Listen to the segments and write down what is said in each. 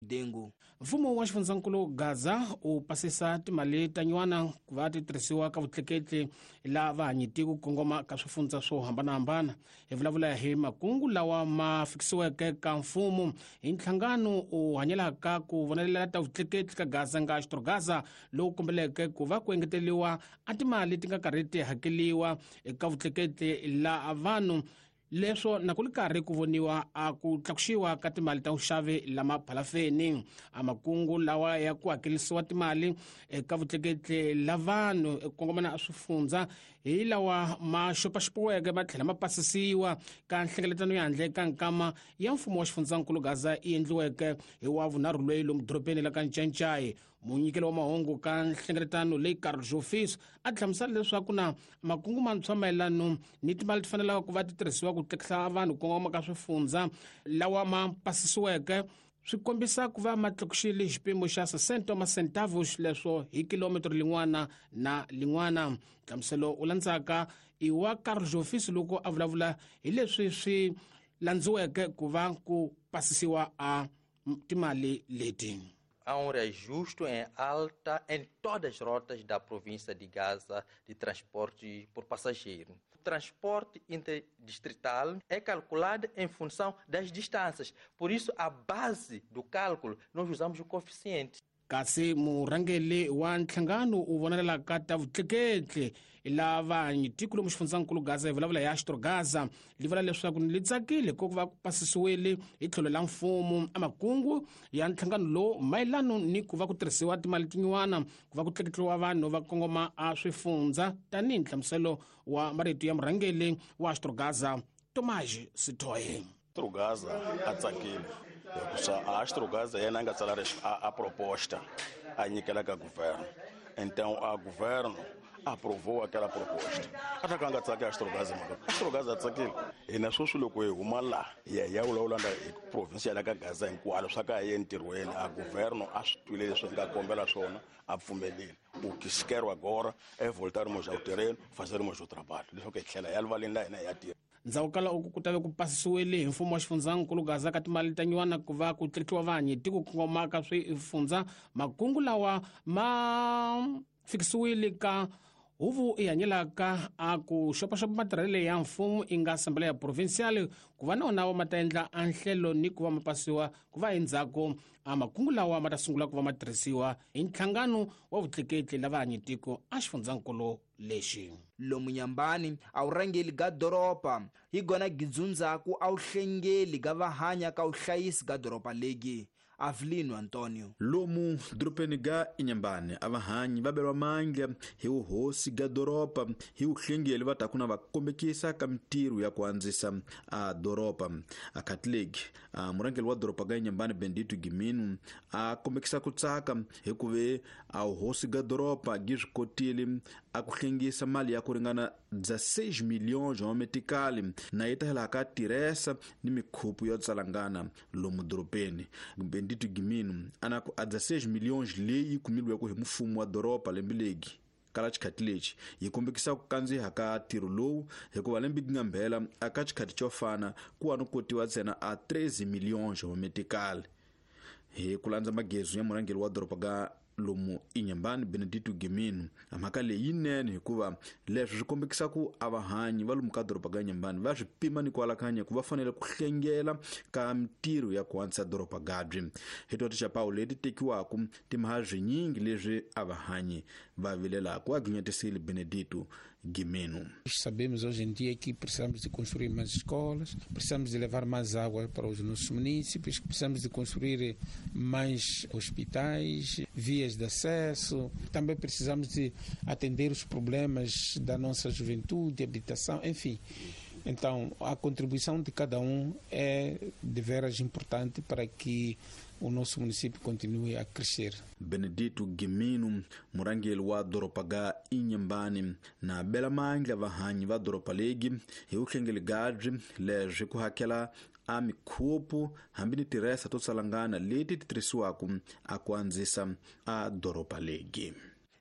Dengu. Mfumo wa xifundzankulu Gaza u pasisa timali ta nyuwana ku va ti tirhisiwa ka vutleketli la vahanyi ku kongoma ka swifundza swo hambanahambana. Hi vulavula hi makungu lawa ma fikisiweke ka mfumo hi nhlangano u hanyelaka ku vonelela ta vutleketli ka Gaza nga Gaza lowu kombeleke ku va ku engeteriwa a timali ti nga karhi ti hakeliwa eka vutleketli la vanhu leswo na ku li karhi ku voniwa a ku tlakuxiwa ka timali ta vuxavi lama phalafeni. A makungu lawa ya ku hakelisiwa timali eka vutleketli la vanhu eku kongomana a swifundza hi lawa ma xopaxopiweke ma tlhela ma pasisiwa ka nhlengeletano ya handle ka nkama ya mfumo wa xifundzankulu Gaza yi endliweke hi wa vunharhu loyi lomu dorobeni la ka Ncancai. Munyikeli wa mahungu ka nhlengeletano leyi Carl Jofis a hlamusela leswaku na makungu mantshwa mayelano ni timali ti fanelaka ku va ti tirhisiwa ku tlekisa vanhu kongoma ka swifundza lawa ma pasisiweke swi kombisa ku va ma tlakuxile xipimo xa 60 macentavos leswo hi kilometro lin'wana na lin'wana. Nhlamuselo u landzaka i wa Carl Jofis loko a vulavula hi leswi swi landziweke ku va ku pasisiwa a timali leti. Há um reajuste em alta em todas as rotas da província de Gaza de transporte por passageiro. O transporte interdistrital é calculado em função das distâncias. Por isso, a base do cálculo, nós usamos o coeficiente. Kasi murhangeri wa nhlangano u vonelelaka ta vutleketli lava tiko lomu xifundzankulu Gaza hi vulavula hi Astro Gaza li vula leswaku li tsakile ku va ku pasisiwile hi tlhelo la mfumo a makungu ya nhlangano lowu mayelano ni ku va ku tirhisiwa timali tin'wana ku va ku tleketliwa vanhu va kongoma a swifundza tanihi nhlamuselo wa marito ya murhangeri wa Astro Gaza Tomás Sitoe. Astro Gaza a tsakile hikusa a Astro Gaza yena a nga tsala a proposta a nyikela ka governo. Então a governo aprovou aquela proposta. Até que a nga tsaki Astro Gaza mhaka. Astro Gaza a tsakile. Hina sweswi loko hi huma laha hi ya hi ya vulavula na hi province ya la ka Gaza hinkwalo swa ka hi ye entirhweni a governo a swi twile leswi hi nga kombela swona a pfumelile. O que se quer agora é voltarmos ao terreno, fazermos o trabalho. Leswaku hi tlhela hi ya rivaleni la hina hi ya tirha. Ndzhaku ka loko ku tave ku pasisiwile hi mfumo wa xifundzankulu Gaza ka timali ta nyuwana ku va ku tleketliwa vanhu tiko kongoma ka swifundza makungu lawa ma fikisiwile ka huvo i hanyelaka a ku xopaxopa matirhelo ya mfumo i nga Assembleia Provincial ku va na wona ma ta endla a nhlelo ni ku va ma pasiwa ku va endzhaku a makungu lawa ma ta sungula ku va ma tirhisiwa hi nhlangano wa vutleketli lava hanyetiko a xifundzankulu lexi. Lomu Nyambani a wu rhangeli ga doroba hi gona gidzundzaku a wu hlengeli ga vahanya ka vuhlayisi ga doroba legi. Avelino Antonio. Lomu dorobeni ga Inhambane a vahanyi va beriwa mandla hi vuhosi ga doroba hi vuhlengeli va taku na va kombekisa ka mintirho ya ku andzisa a doroba. A Catholic a murhangeri wa doroba ga Inhambane Bendito Gimino a kombekisa ku tsaka hikuve a vuhosi ga doroba gi swi kotile a ku hlengisa mali ya ku ringana 16 milhões wa metikali na yi ta hela ka tirhesa ni mikhupu yo tsalangana lomu dorobeni. Bendito Gimino ana ku a 16 milhões leyi kumilweke hi mfumo wa doroba lembe legi kala xikhati lexi yi kombekisa ku kandziha ka ntirho lowu hikuva lembe gi nga mbhela aka xikhati xo fana ku wa no kotiwa ntsena a 13 milhões wa metikali. Hi ku landza magezu ya murhangeri wa doroba ga lomu Inhambane Benedito Gimino mhaka leyi yinene hikuva leswi swi kombekisa ku a vahanyi va lomu ka doroba ga Inhambane va swi pima ni ku alakanya ku va fanele ku hlengela ka mintirho ya ku antswisa doroba gabyi. Hi to tixapawu leti tekiwaka timhaka swinyingi leswi a vahanyi va vilelaka a ginyetisile Benedito Gimeno. Sabemos hoje em dia que precisamos de construir mais escolas, precisamos de levar mais água para os nossos municípios, precisamos de construir mais hospitais, vias de acesso, também precisamos de atender os problemas da nossa juventude, habitação, enfim. Então, a contribuição de cada um é de veras importante para que o nosso município continue a crescer. Benedito Gimino, murhangeri wa doroba ga Inhambane na bela mandla vahanyi va doroba legi hi vuhlengeli gabyi leswi ku hakela a mikhupu hambi ni tirhesa to tsalangana leti ti tirhisiwaka a ku andzisa a doroba legi.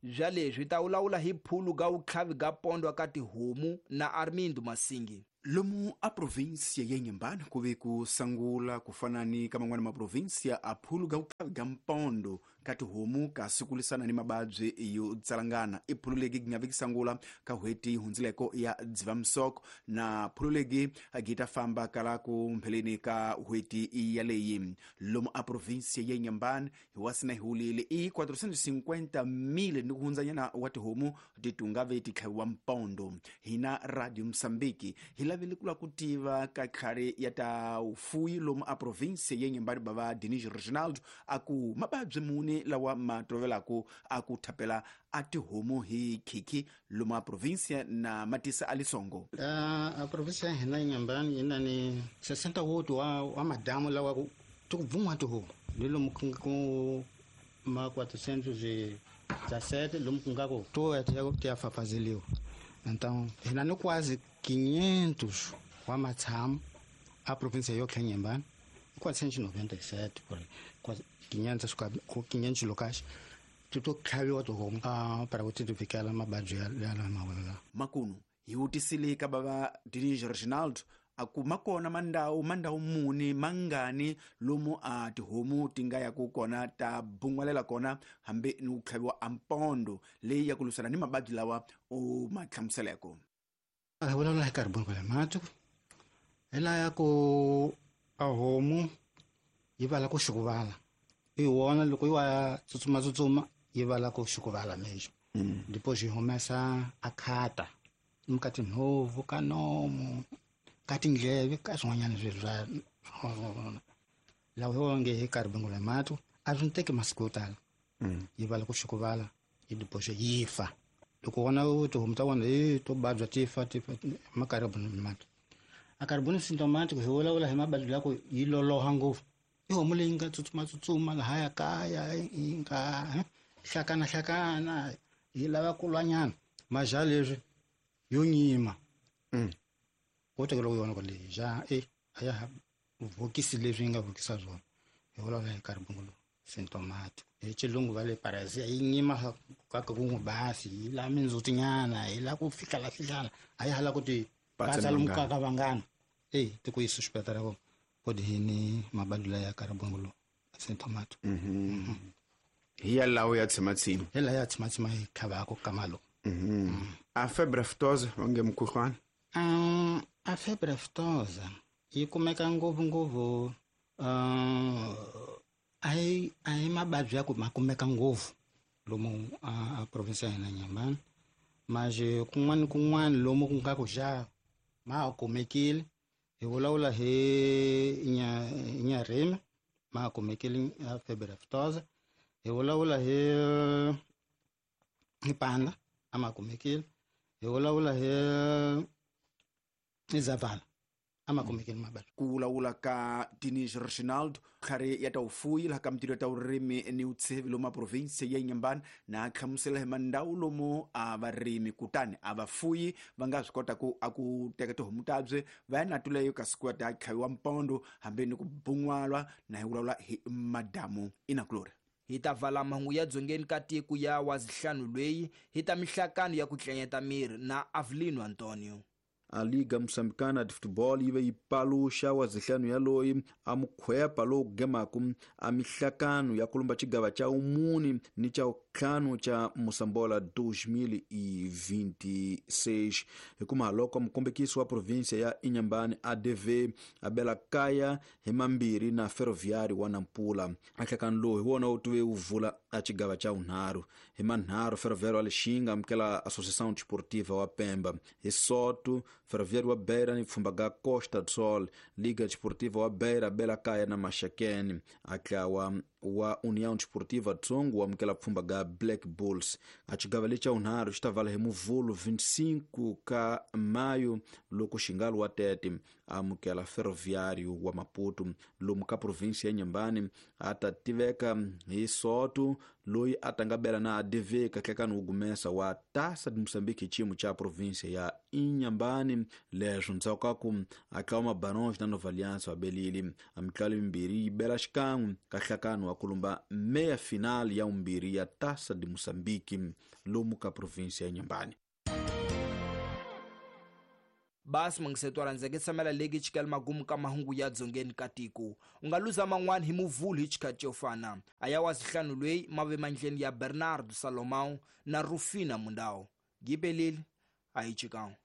Bya leswi ta vulavula hi phulu ga vutlhavi ga pondwa ka tihomu na Armindo Masingi. Lomu a província ya Inhambane kuve kusangula kufana ni ka man'wana maprovíncia a phulu ga vukavi ga mpondo ka tihomu ka sikulisana ni mababyi yo tsalangana. I phulu legi gi nga vi kisangula ka hweti yi hundzileko ya Dzivamisoko na phulu legi gi ta famba kala ku mpheleni ka hweti yaleyi. Lomu a província ya Inhambane hi wasina hi hulile i 450,000 ni ku hundzanyana wa tihomu ti tungave ti tlhaviwa mpondo. Hina Radio Mozambique hi lavile ku lava ku tiva ka tlhari ya ta vufuwi lomu a província ya Inhambane bava Denis Reginaldo a ku mababyi muni lawa ma tolovelaku a ku thapela a tihomu hi khikhi lomu a província na matisa a lisongo. A província ya hina Inhambane yi na ni 68 wa madamu lawa ku ti ku bvun'wa tihomu ni lomu ku ma 417 lomu ku nga ku to ti ya fafazeliwa. Então hina ni quase 500 wa matshamo a província yotlhe Inhambane 497 por 500 locais ti to tlhaviwa tihomu para ku ti ti fikela mababyi ya lama. Makunu hi vutisile ka bava Denis Reginaldo a ku makona mandawu muni mangani lomu a tihomu ti nga yaku kona ta bun'walela kona hambi ni ku tlhaviwa a mpondo leyi ya ku lwisana ni mababyi lawa u ma hlamuseleko. A vulavula hi carboncolemático hi laya ku a homu yi vala ku xukuvala i wona loko yi wa tsutsuma yi vala ku xukuvala mesmo. Depois yi humesa a khata ka tinhovu ka nomu ka tindleve ka swin'wanyana swilo swa lawa hi nge hi carboncolemático a swi teki masiku yo tala. Yi vala ku xukuvala yi depois yi fa. Loko wona tihomu ta wona hi to babya ti fa ma carboncolemático. A carbon symptomatic hi vulavula hi mababyi la ku yi loloha ngopfu. I homu leyi nga tsutsuma lahaya kaya yi nga hlakana yi lava ku lwanyana maja leswi yo nyima. Wo tekela ku yona ku leyi ja a ya ha vhokisi leswi yi nga vhokisa swona. Hi vulavula hi carbon symptomatic. Hi xilungu va le parasia yi nyima kaka ku n'wi basi yi la mindzutinyana yi la ku fihlala a yi hala ku ti patsa lomu ka vangana. Ti ku yisa xipatala ko kodini mababyi la ya carbon symptomatic. Hi ya lawo ya tshimatsima. Hi la ya tshimatsima hi tlhavaka ka malo. A febre aftosa onge mukhuhlwana. A febre aftosa yi kumeka ngopfu a hi mababyi ya ku ma kumeka ngopfu lomu a província ya hina Inhambane. Mas kun'wana lomu ku nga ku xa ma kumekile. Hi vulavula hi Inharime ma kumekile a febre aftosa. Hi vulavula hi Panda a ma kumekile. Hi vulavula hi Zavala a ma kumekile mababyi. Ku vulavula ka Denis Reginaldo tlhari ya ta vufuwi laha ka mintirho ya ta vurimi ni vutshevi lomu a província ya Inhambane na hlamusela hi mandhawu lomu a varimi kutani a vafuyi va nga swi kota ku a ku teka tihomu tabye va ya na tuleyo kasi ku ya ta tlhaviwa mpondo hambi ni ku bun'walwa na hi vulavula hi madamu inakulori. Hi ta vala mahungu ya dzongeni ka tiko ya wazihlanu lweyi hi ta mihlakano ya ku tlenyeta miri na Avelino Antonio. A Liga Moçambicana de Futebol yi ve yi paluxa wazihlanu yaloyi a mukhwepa lowu gemaku a mihlakano ya kulumba xigava xa umuni ni xa ntlhanu xa Moçambola 2026. Hikuma loko mukombekisi wa província ya Inhambane ADV a bela kaya hi mambirhi na Ferroviário wa Nampula. A nhlakano lowu hi wona wu tive wu vula a xigava xa vunharhu. Hi manharhu Ferroviário wa Lixinga amukela Associação Desportiva wa Pemba. Hi Soto Ferroviário wa Beira ni pfhumba ga Costa do Sol. Liga Desportiva wa Beira bela kaya na Maxakeni. A tlawa wa União Desportiva Tsongo wa amukela pfhumba ga Black Bulls. A xigava lexi xa vunharhu xi ta vala hi Muvhulu 25 ka Maio loko Xingalo wa Tete amukela Ferroviário wa Maputo. Lomu ka província ya Inhambane a ta tiveka hi Soto loyi a tanga bela na ADV kahlekani wu gumesa wa Taça de Moçambique hi xiyimo xa província ya Inhambane. Leswo ndzhaku ka ku a tlawa Mabarões na Nova Aliança wa belile a mitlalo yimbirhi yi bela xikan'we ka nhlakano wa kulumba meia final ya vumbirhi ya Taça de Moçambique lomu ka província ya Inhambane. Basi mangisetwa rhandzeke tshamela leki chikela magumu ka mahungu ya dzongeni ka tiko. U nga luza man'wana hi muvhulu hi xikhathi xo fana. A ya wa zihlanu lweyi mave mandleni ya Bernardo Salomão na Rufina Mundau. Gipelile a hi chikang.